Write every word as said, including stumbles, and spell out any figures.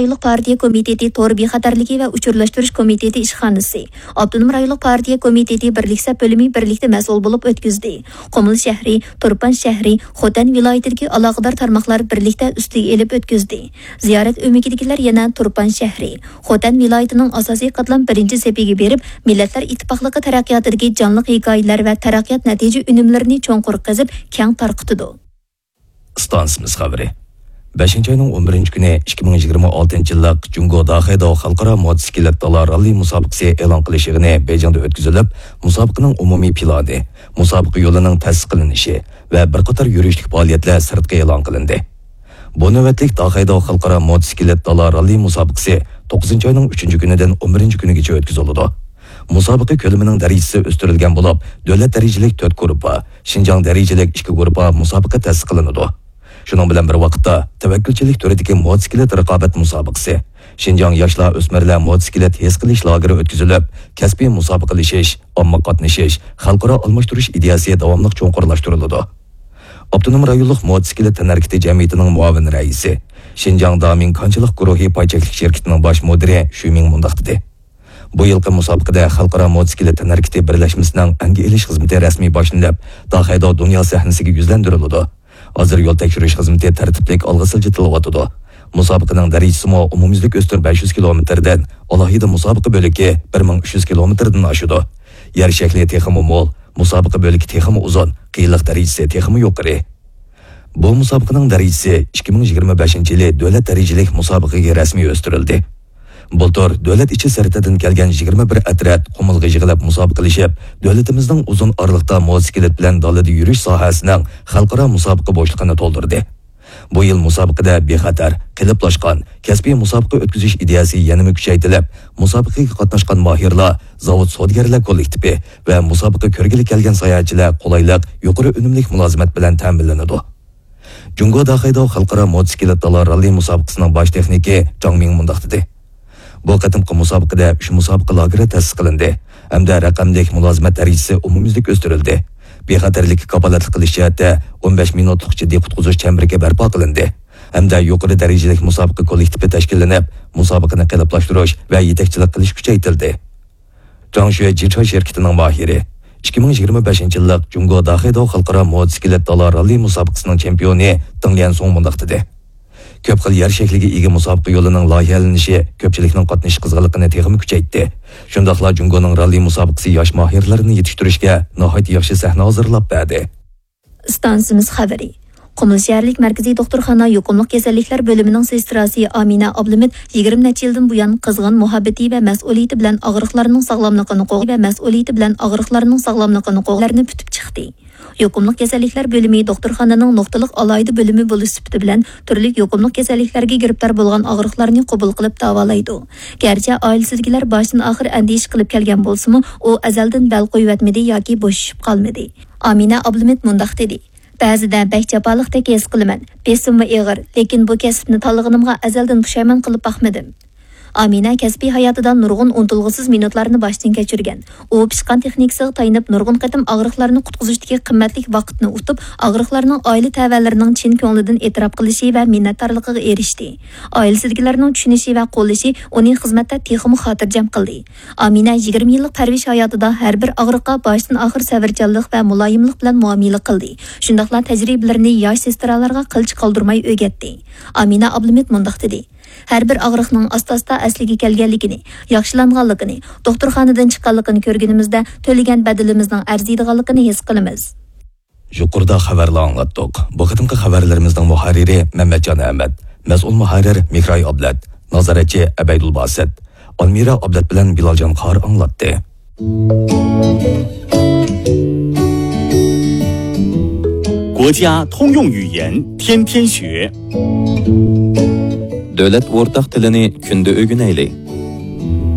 رايونلۇق پارتىيە كومىتېتى تور بىخەتەرلىكى ۋە ئۇچۇرلاشتۇرۇش كومىتېتى ئىشخانىسى، ئاپتونوم رايونلۇق پارتىيە كومىتېتى بىرلىك سەپ بۆلۈمى بىرلىكتە مەسئۇل بولۇپ ئۆتكۈزدى. قۇمۇل شەھىرى، تۇرپان شەھىرى، خوتەن ۋىلايىتىدىكى ئالاقىدار تارماقلار بىرلىكتە ئۈستىگە ئېلىپ ئۆتكۈزدى. زىيارەت ئۆمىكىدىكىلەر يەنە تۇرپان شەھىرى، خوتەن ۋىلايىتىنىڭ ئاساسىي قاتلام بىرىنچى سېپىگە بېرىپ، مىللەتلەر ئىتتىپاقلىقى تەرەققىياتىدىكى جانلىق ھېكايىلەر ۋە تەرەققىيات نەتىجە ئۈنۈملىرىنى چوڭقۇر قېزىپ، كەڭ تارقىتىدۇ. ئىستانسىمىز خەۋىرى. بەشىنچى ئاينىڭ ئون بىرىنچى كۈنى ئىككى مىڭ يىگىرمە ئالتىنچى يىللىق جۇڭگو داخېيداۋ خەلقئارا موتوسىكلىت دالا راللى مۇسابىقىسى ئېلان قىلىش يىغىنى بېيجىڭدا ئۆتكۈزۈلۈپ، مۇسابىقىنىڭ ئومۇمىي پىلانى، مۇسابىقە يولىنىڭ تەسىس قىلىنىشى ۋە بىر قاتار يۈرۈشلۈك پائالىيەتلەر سىرتقا ئېلان قىلىندى. بۇ نۆۋەتلىك داخېيداۋ خەلقئارا موتوسىكلىت دالا راللى مۇسابىقىسى توققۇزىنچى ئاينىڭ ئۈچىنچى كۈنىدىن ئون بىرىنچى كۈنىگىچە ئۆتكۈزۈلىدۇ. مۇسابىقە كۆلىمىنىڭ دەرىجىسى ئۆستۈرۈلگەن بولۇپ، دۆلەت دەرىجىلىك تۆت گۇرۇپپا، شىنجاڭ دەرىجىلىك ئىككى گۇرۇپپا مۇسابىقە تەسىس قىلىنىدۇ. شۇنىڭ بىلەن بىر ۋاقىتتا، تەۋەككۈلچىلىك تۈرىدىكى موتوسىكلىت رىقابەت مۇسابىقىسى، شىنجاڭ ياشلار ئۆسمۈرلەر موتوسىكلىت ھېس قىلىش لاگېرى ئۆتكۈزۈلۈپ، كەسپىي مۇسابىقىلىشىش، ئامما قاتنىشىش، خەلقئارا ئالماشتۇرۇش ئىدىيەسى داۋاملىق چوڭقۇرلاشتۇرۇلىدۇ. ئاپتونوم رايونلۇق موتوسىكلىت تەنھەرىكىتى جەمئىيىتىنىڭ مۇئاۋىن رەئىسى، شىنجاڭ دامىڭ كانچىلىق گۇرۇھى پاي چەكلىك شىركىتىنىڭ باش مۇدىرى شۈ مىڭ مۇنداق دېدى. بۇ يىلقى مۇسابىقىدە خەلقئارا موتوسىكلىت تەنھەرىكىتى بىرلەشمىسىنىڭ ئەنگە ئېلىش خىزمىتى رەسمىي باشلىنىپ، داخېيداۋ دۇنيا سەھنىسىگە يۈزلەندۈرۈلىدۇ. ھازىر يول تەكشۈرۈش خىزمىتى تەرتىپلىك ئالغا سىلجىتىلىۋاتىدۇ. مۇسابىقىنىڭ دەرىجىسىمۇ ئومۇميۈزلۈك ئۆستۈر بەش يۈز كىلومېتىردىن، ئالاھىدە مۇسابىقە بۆلىكى بىر مىڭ ئۈچ يۈز كىلومېتىردىن ئاشىدۇ. يەر شەكلى تېخىمۇ مول، مۇسابىقە بۆلىكى تېخىمۇ ئۇزۇن، قىيىنلىق دەرىجىسى تېخىمۇ يۇقىرى. بۇ مۇسابىقىنىڭ دەرىجىسى ئىككى مىڭ يىگىرمە بەشىنچى يىلى دۆلەت دەرىجىلىك مۇسابىقىگە رەسمىي ئۆستۈرۈلدى. بۇلتۇر دۆلەت ئىچى سىرتىدىن كەلگەن يىگىرمە بىر ئەترەت قۇمۇلغا يىغىلىپ مۇسابىقىلىشىپ، دۆلىتىمىزنىڭ ئۇزۇن ئارىلىقتا موتوسىكلىت بىلەن دالىدا يۈرۈش ساھەسىنىڭ خەلقئارا مۇسابىقە بوشلۇقىنى تولدۇردى. بۇ يىل مۇسابىقىدە بىخەتەر، قېلىپلاشقان، كەسپىي مۇسابىقە ئۆتكۈزۈش ئىدىيەسى يەنىمۇ كۈچەيتىلىپ، مۇسابىقىگە قاتناشقان ماھىرلار، زاۋۇت سودىگەرلەر كوللېكتىپى ۋە مۇسابىقە كۆرگىلى كەلگەن ساياھەتچىلەر قولايلىق، يۇقىرى ئۈنۈملۈك مۇلازىمەت بىلەن تەمىنلىنىدۇ. جۇڭگو داخېيداۋ خەلقئارا موتوسىكلىت دالا راللى مۇسابىقىسىنىڭ باش تېخنىكى جاڭ مىڭ مۇنداق دېدى: بۇ قېتىمقى مۇسابىقىدە ئۈچ مۇسابىقە لاگېرى تەسىس قىلىندى ھەمدە رەقەملىك مۇلازىمەت دەرىجىسى ئومۇميۈزلۈك ئۆستۈرۈلدى. بىخەتەرلىككە كاپالەتلىك قىلىش جەھەتتە ئون بەش مىنۇتلۇق جىددىي قۇتقۇزۇش چەمبىرىكى بەرپا قىلىندى ھەمدە يۇقىرى دەرىجىلىك مۇسابىقە كوللېكتىپى تەشكىللىنىپ، مۇسابىقىنى قېلىپلاشتۇرۇش ۋە يېتەكچىلىك قىلىش كۈچەيتىلدى. جاڭشۈە جىچا شىركىتىنىڭ ماھىرى، ئىككى مىڭ يىگىرمە بەشىنچى يىللىق جۇڭگو داخېيداۋ خەلقئارا موتوسىكلىت دالا راللى مۇسابىقىسىنىڭ چېمپىيونى دېڭ ليەنسۇڭ مۇنداق دېدى: كۆپ خىل يەر شەكلىگە ئىگە مۇسابىقە يولىنىڭ لايىھەلىنىشى كۆپچىلىكنىڭ قاتنىشىش قىزغىنلىقىنى تېخىمۇ كۈچەيتتى. شۇنداقلا جۇڭگونىڭ راللى مۇسابىقىسى ياش ماھىرلىرىنى يېتىشتۈرۈشكە ناھايىتى ياخشى سەھنە ھازىرلاپ بەردى. ئىستانسىمىز خەۋىرى. قۇمۇل شەھەرلىك مەركىزىي دوختۇرخانا يۇقۇملۇق كېسەللىكلەر بۆلۈمىنىڭ سېستراسى ئامىنە ئابلىمىت يىگىرمە نەچچە يىلدىن بۇيان قىزغىن مۇھەببىتى ۋە مەسئۇلىيىتى بىلەن ئاغرىقلارنىڭ ساغلاملىقىنى قوغ-، ۋە مەسئۇلىيىتى بىلەن ئاغرىقلارنىڭ ساغلاملىقىنى قوغلارنى پۈتۈپ چىقتى. يۇقۇملۇق كېسەللىكلەر بۆلۈمى دوختۇرخانىنىڭ نۇقتىلىق ئالاھىدە بۆلۈمى بولۇش سۈپىتى بىلەن تۈرلۈك يۇقۇملۇق كېسەللىكلەرگە گىرىپتار بولغان ئاغرىقلارنى قوبۇل قىلىپ داۋالايدۇ. گەرچە ئائىلىسىدىكىلەر باشتىن ئاخىر ئەندىشە قىلىپ كەلگەن بولسىمۇ، ئۇ ئەزەلدىن بەل قويۇۋەتمىدى ياكى بوشىشىپ قالمىدى. ئامىنە ئابلىمىت مۇنداق دېدى: بەزىدە بەك جاپالىقتەك ھېس قىلىمەن. بېسىممۇ ئېغىر، لېكىن بۇ كەسىپنى تاللىغىنىمغا ئەزەلدىن پۇشايمان قىلىپ باقمىدىم. ئامىنە كەسپىي ھاياتىدا نۇرغۇن ئۇنتۇلغۇسىز مىنۇتلارنى باشتىن كەچۈرگەن. ئۇ پىشقان تېخنىكىسىغا تايىنىپ، نۇرغۇن قېتىم ئاغرىقلارنى قۇتقۇزۇشتىكى قىممەتلىك ۋاقىتنى ئۇتۇپ، ئاغرىقلارنىڭ ئائىلە تەۋەلىرىنىڭ چىن كۆڭلىدىن ئېتىراپ قىلىشى ۋە مىننەتدارلىقىغا ئېرىشتى. ئائىلىسىدىكىلەرنىڭ چۈشىنىشى ۋە قوللىشى ئۇنى خىزمەتتە تېخىمۇ خاتىرجەم قىلدى. ئامىنە يىگىرمە يىللىق پەرۋىش ھاياتىدا ھەر بىر ئاغرىققا باشتىن ئاخىر سەۋرچانلىق ۋە مۇلايىملىق بىلەن مۇئامىلە قىلدى. شۇنداقلا تەجرىبىلىرىنى ياش سېسترالارغا قىلچە قالدۇرماي ئۆگەتتى. ئامىنە ئابلىمىت مۇنداق دېدى: ھەر بىر ئاغرىقنىڭ ئاستا-ئاستا ئەسلىگە كەلگەنلىكىنى، ياخشىلانغانلىقىنى، دوختۇرخانىدىن چىققانلىقىنى كۆرگىنىمىزدە، تۆلىگەن بەدىلىمىزنىڭ ئەرزىيدىغانلىقىنى ھېس قىلىمىز. يۇقىرىدا خەۋەرلەر ئاڭلاتتۇق. بۇ قېتىمقى خەۋەرلىرىمىزنىڭ مۇھەررىرى مەمەتجان ئەمەت، مەسئۇل مۇھەررىر مېھراي ئابلەت، نازارەتچى ئەبەيدۇل باسىت، ئالمىرا ئابلەت بىلەن بىلالجان قارى ئاڭلاتتى. دۆلەت ئورتاق تىلىنى كۈندە ئۆگىنەيلى.